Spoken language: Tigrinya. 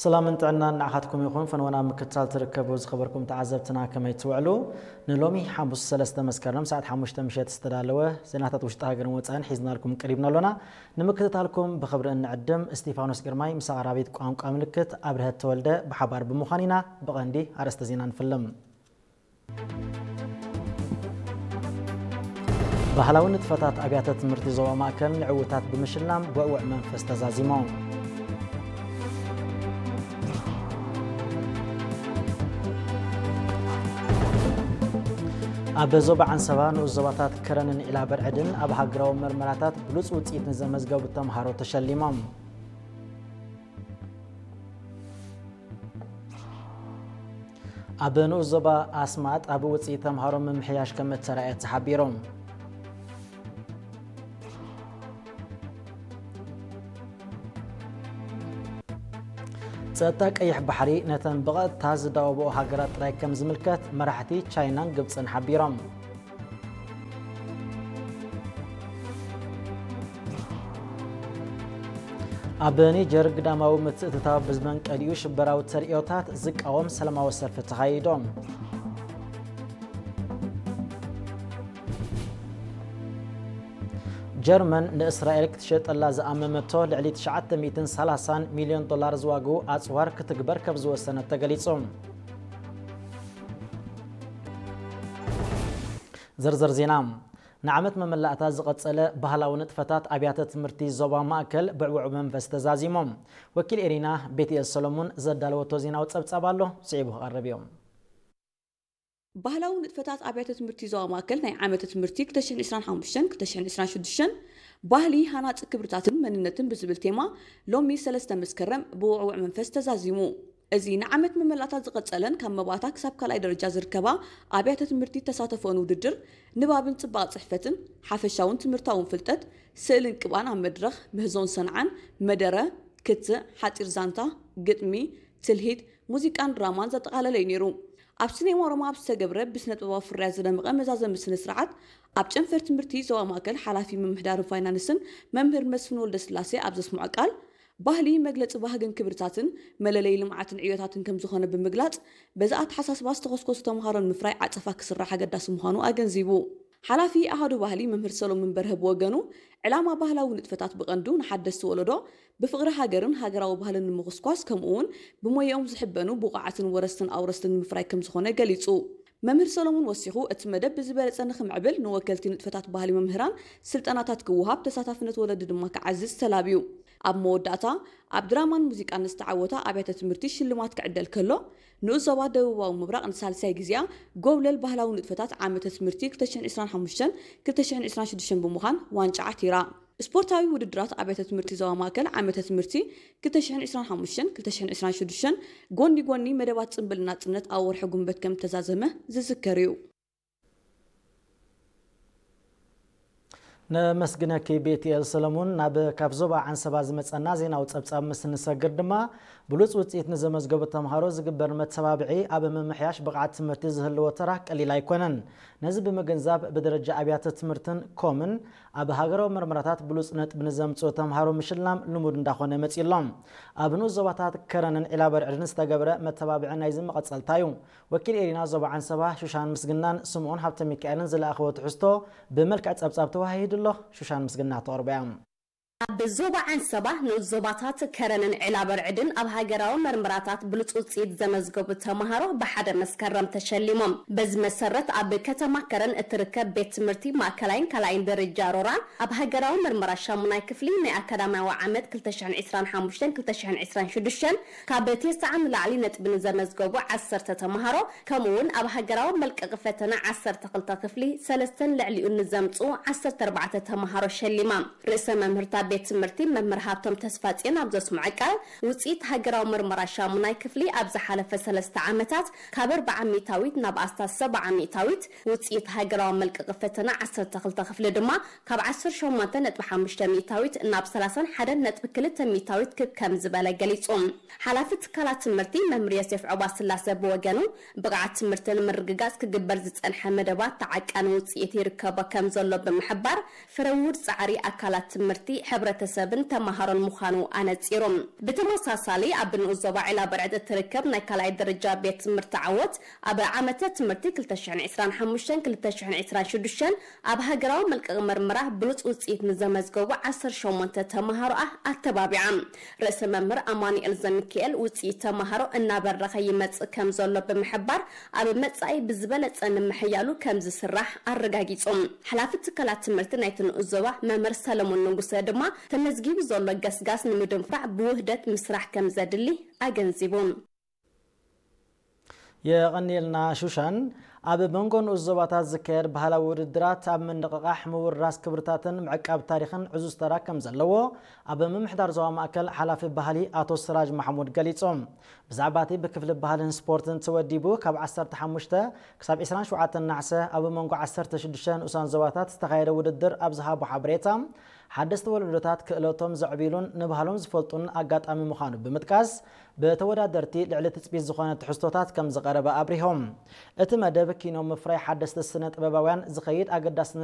ሰላምን ጥዕናን ንዓኻትኩም ይኹን። ፈነወና ምክትታል ትርከቡ ዝኸበርኩም ተዓዘብትና ከመይ ትውዕሉ? ንሎሚ ሓሙስ ሰለስተ መስከረም ሰዓት ሓሙሽተ ምሸት ዝተዳለወ ዜናታት ውሽጢ ሃገርን ወፃእን ሒዝናልኩም ቀሪብና ኣሎና። ንምክትታልኩም ብኽብሪ እንዕድም። እስጢፋኖስ ግርማይ ምስ ኣቕራቢት ቋንቋ ምልክት ኣብርሀት ተወልደ ብሓባር ብምዃን ኢና ብቐንዲ ኣርእስተ ዜና ንፍልም። ባህላዊ ንጥፈታት ኣብያተ ትምህርቲ ዞባ ማእከል ንዕውታት ብምሽላም ብዕዉዕ መንፈስ ተዛዚሞም። ኣብ ዞባ ዓንሰባ ንኡስ ዞባታት ከረንን ዒላ በርዕድን ኣብ ሃገራዊ መርመራታት ብሉጽ ውጽኢት ንዘመዝገቡ ተምሃሮ ተሸሊሞም። ኣብ ንኡስ ዞባ ኣስማጥ ኣብ ውፅኢት ተምሃሮ ምምሕያሽ ከም እተራእየ ተሓቢሩ። ጸጥታ ቀይሕ ባሕሪ ነተን ብቐጥታ ዝዳወብኦ ሃገራት ጥራይ ከም ዝምልከት መራሕቲ ቻይናን ግብፅን ሓቢሮም። ኣብ ኒጀር ግዳማዊ ምትእትታው ብዝመንቀሊኡ ሽበራዊ ተርእዮታት ዝቃወም ሰላማዊ ሰልፊ ተኻይዶም። ጀርመን ንእስራኤል ክትሸጠላ ዝኣመመቶ ልዕሊ ትሽዓተ ሚእትን ሰላሳን ሚልዮን ዶላር ዝዋግኡ ኣጽዋር ክትግበር ከም ዝወሰነት ተገሊጹ። ዝርዝር ዜና። ንዓመት መመላእታ ዝቐጸለ ባህላዊ ንጥፈታት ኣብያተ ትምህርቲ ዞባ ማእከል ብዕውዕ መንፈስ ተዛዚሞም። ወኪል ኤሪና ቤትኤል ሰሎሞን ዘዳለወቶ ዜናዊ ጸብጻብ ኣሎ፣ ስዒቡ ክቐርብ እዮም። ባህላዊ ንጥፈታት ኣብያተ ትምህርቲ ዞባ ማእከል ናይ ዓመተ ትምህርቲ ክልተ ሽሕን ዕስራን ሓሙሽተን ክልተ ሽሕን ዕስራን ሽዱሽተን ባህሊ፣ ሃናጺ ክብርታትን መንነትን ብዝብል ቴማ ሎሚ ሰለስተ መስከረም ብውዕውዕ መንፈስ ተዛዚሙ። እዚ ንዓመት መመላእታ ዝቐጸለን ካብ መባእታ ክሳብ ካልኣይ ደረጃ ዝርከባ ኣብያተ ትምህርቲ ተሳተፎን ውድድር ንባብን ጽባቐ ጽሕፈትን፣ ሓፈሻውን ትምህርታውን ፍልጠት፣ ስእልን ቅብኣን ኣብ መድረኽ፣ ምህዞን ሰንዓን፣ መደረ፣ ክትዕ፣ ሓጺር ዛንታ፣ ግጥሚ፣ ትልሂት፣ ሙዚቃን ድራማን ዘጠቓለለ እዩ ነይሩ። ኣብ ሲኔማ ሮማ ኣብ ዝተገብረ ብስነ ጥበባዊ ፍርያት ዝደመቐ መዛዘሚ ስነ ስርዓት፣ ኣብ ጨንፈር ትምህርቲ ዞባ ማእከል ሓላፊ ምምሕዳርን ፋይናንስን መምህር መስፍን ወልደስላሴ ኣብ ዘስምዖ ቃል፣ ባህሊ መግለጺ ባህግን ክብርታትን መለለዪ ልምዓትን ዕዮታትን ከም ዝኾነ ብምግላጽ፣ በዚ ኣተሓሳስባ ዝተኾስኮሱ ተምሃሮ ንምፍራይ ዓጸፋ ክስራሕ ኣገዳሲ ምዃኑ ኣገንዚቡ። ሓላፊ ኣሃዱ ባህሊ መምህር ሰሎሞን በርሀ ብወገኑ፣ ዕላማ ባህላዊ ንጥፈታት ብቐንዱ ንሓደስቲ ወለዶ ብፍቕሪ ሃገርን ሃገራዊ ባህልን ንምኹስኳስ፣ ከምኡ እውን ብሞያኦም ዝሕበኑ ብቑዓትን ወረስትን ኣውረስትን ንምፍራይ ከም ዝኾነ ገሊጹ። መምህር ሰሎሞን ወሲኹ፣ እቲ መደብ ብዝበለጸ ንኽምዕብል ንወከልቲ ንጥፈታት ባህሊ መምህራን ስልጠናታት ክወሃብ፣ ተሳታፍነት ወለዲ ድማ ክዓዝዝ ተላብዩ። ኣብ መወዳእታ፣ ኣብ ድራማን ሙዚቃን ዝተዓወታ ኣብያተ ትምህርቲ ሽልማት ክዕደል ከሎ፣ ንኡስ ዞባ ደቡባዊ ምብራቕ ንሳልሳይ ግዜኣ ጎብለል ባህላዊ ንጥፈታት ዓመተ ትምህርቲ ክልተ ሽሕን ዕስራን ሓሙሽተን ክልተ ሽሕን ዕስራን ሽዱሽተን ብምዃን ዋንጫ ዓቲራ። ስፖርታዊ ውድድራት ኣብያተ ትምህርቲ ዞባ ማእከል ዓመተ ትምህርቲ ክልተ ሽሕን ዕስራን ሓሙሽተን ክልተ ሽሕን ዕስራን ሽዱሽተን ጎኒ ጎኒ መደባት ጽምብል ናጽነት ኣብ ወርሒ ጉንበት ከም እተዛዘመ ዝዝከር እዩ። ነመስግነኪ ቤትኤል ሰለሙን። ናብ ካብ ዞባ ዓንሰባ ዝመጸና ዜናዊ ጸብጻብ ምስ ንሰግር ድማ፣ ብሉጽ ውጽኢት ንዘመዝገቡ ተምሃሮ ዝግበር መተባብዒ ኣብ ምምሕያሽ ብቕዓት ትምህርቲ ዝህልዎ ተራ ቀሊል ኣይኮነን። ነዚ ብምግንዛብ፣ ብደረጃ ኣብያተ ትምህርትን ኮምን ኣብ ሃገራዊ መርመራታት ብሉጽ ነጥቢ ንዘምጽኡ ተምሃሮ ምሽላም ልሙድ እንዳኾነ መጺኡ ኣሎ። ኣብ ንኡስ ዞባታት ከረንን ዒላበርዕድን ዝተገብረ መተባብዒ ናይዚ መቐጸልታ እዩ። ወኪል ኤሪና ዞባ ዓንሰባ ሹሻን ምስግናን ስምኦን ሃብተ ሚካኤልን ዝለኣኽዎ ትሕዝቶ ብመልክዕ ጸብጻብ ተወሃሂዱ ኣሎ። ሹሻን ምስግና ተቕርቦ እያ። ኣብ ዞባ ዓንሰባ ንኡስ ዞባታት ከረንን ዒላበርዕድን ኣብ ሃገራዊ መርመራታት ብሉጽ ውጽኢት ዘመዝገቡ ተምሃሮ ብሓደ መስከረም ተሸሊሞም። በዚ መሰረት ኣብ ከተማ ከረን እትርከብ ቤት ትምህርቲ ማእከላይን ካልኣይን ደረጃ ሮራ ኣብ ሃገራዊ መርመራ ሻሙናይ ክፍሊ ናይ ኣካዳሚያዊ ዓመት ክልተ ሽሕን ዕስራን ሓሙሽተን ክልተ ሽሕን ዕስራን ሽዱሽተን ካብ ተስዓ ንላዕሊ ነጥቢ ንዘመዝገቡ ዓሰርተ ተምሃሮ፣ ከምኡ እውን ኣብ ሃገራዊ መልቀቂ ፈተና ዓሰርተ ክልተ ክፍሊ ሰለስተን ልዕሊኡን ንዘምጽኡ ዓሰርተ ኣርባዕተ ተምሃሮ ሸሊማ። ርእሰ መምህርታ ቤት ትምህርቲ መምህር ሃብቶም ተስፋጽዮን ኣብ ዘስምዖ ቃል፣ ውጽኢት ሃገራዊ መርመራ ሻሙናይ ክፍሊ ኣብ ዝሓለፈ ሰለስተ ዓመታት ካብ ኣርብዓ ሚእታዊት ናብ ኣስታት ሰብዓ ሚእታዊት፣ ውጽኢት ሃገራዊ መልቀቂ ፈተና ዓሰርተ ክልተ ክፍሊ ድማ ካብ ዓሰርተ ሸሞንተ ነጥቢ ሓሙሽተ ሚእታዊት ናብ ሰላሳን ሓደን ነጥቢ ክልተ ሚእታዊት ክብ ከም ዝበለ ገሊጹ። ሓላፊ ትካላት ትምህርቲ መምህር ዮሴፍ ዑባ ስላሰ ብወገኑ፣ ብቕዓት ትምህርቲ ንምርግጋጽ ክግበር ዝጸንሐ መደባት ተዓቃኒ ውጽኢት ይርከቦ ከም ዘሎ ብምሕባር፣ ፍረ ውሁድ ጻዕሪ ኣካላት ትምህርቲ ሕብረተሰብን ተመሃሮን ምዃኑ ኣነጺሩ። ብተመሳሳሊ ኣብ ንኡስ ዞባ ዒላ በርዕድ እትርከብ ናይ ካልኣይ ደረጃ ቤት ትምህርቲ ዓወት ኣብ ዓመተ ትምህርቲ ክልተ ሽሕን ዕስራን ሓሙሽተን ክልተ ሽሕን ዕስራን ሽዱሽተን ኣብ ሃገራዊ መልቀቂ መርመራ ብሉጽ ውጽኢት ንዘመዝገቡ ዓሰርተ ሸሞንተ ተመሃሮኣ ኣተባቢዓ። ርእሰ መምህር ኣማኑኤል ዘሚካኤል ውጽኢት ተመሃሮ እናበረኸ ይመጽእ ከም ዘሎ ብምሕባር ኣብ መጻኢ ብዝበለጸ ንምሕያሉ ከም ዝስራሕ ኣረጋጊጹ። ሓላፊ ትካላት ትምህርቲ ናይቲ ንኡስ ዞባ መምህር ሰለሞን ንጉሰ ድማ ተመዝጊቡ ዘሎ ገስጋስ ንምድንፋዕ ብውህደት ምስራሕ ከም ዘድሊ ኣገንዚቡ። የቐንየልና ሹሻን። ኣብ መንጎ ንኡስ ዞባታት ዝካየድ ባህላዊ ውድድራት ኣብ ምንቕቓሕ ምውራስ ክብርታትን ምዕቃብ ታሪኽን ዕዙዝ ተራ ከም ዘለዎ ኣብ ምምሕዳር ዞባ ማእከል ሓላፊ ባህሊ ኣቶ ስራጅ ማሕሙድ ገሊጾም። ብዛዕባ እቲ ብክፍሊ ባህልን ስፖርትን ተወዲቡ ካብ ዓሰርተ ሓሙሽተ ክሳብ ዕስራን ሸውዓተን ናሕሰ ኣብ መንጎ ዓሰርተ ሽዱሽተ ንኡሳን ዞባታት ዝተኻየደ ውድድር ኣብ ዝሃቦ ሓበሬታ፣ ሓደስቲ ወለዶታት ክእለቶም ዘዕብሉን ንባህሎም ዝፈልጡን ኣጋጣሚ ምዃኑ ብምጥቃስ፣ ብተወዳደርቲ ልዕሊ ትጽቢት ዝኾነ ትሕዝቶታት ከም ዝቐረበ ኣብሪሆም። እቲ መደብ ኪኖ ምፍራይ ሓደስቲ ስነ ጥበባውያን ዝኸይድ ኣገዳሲ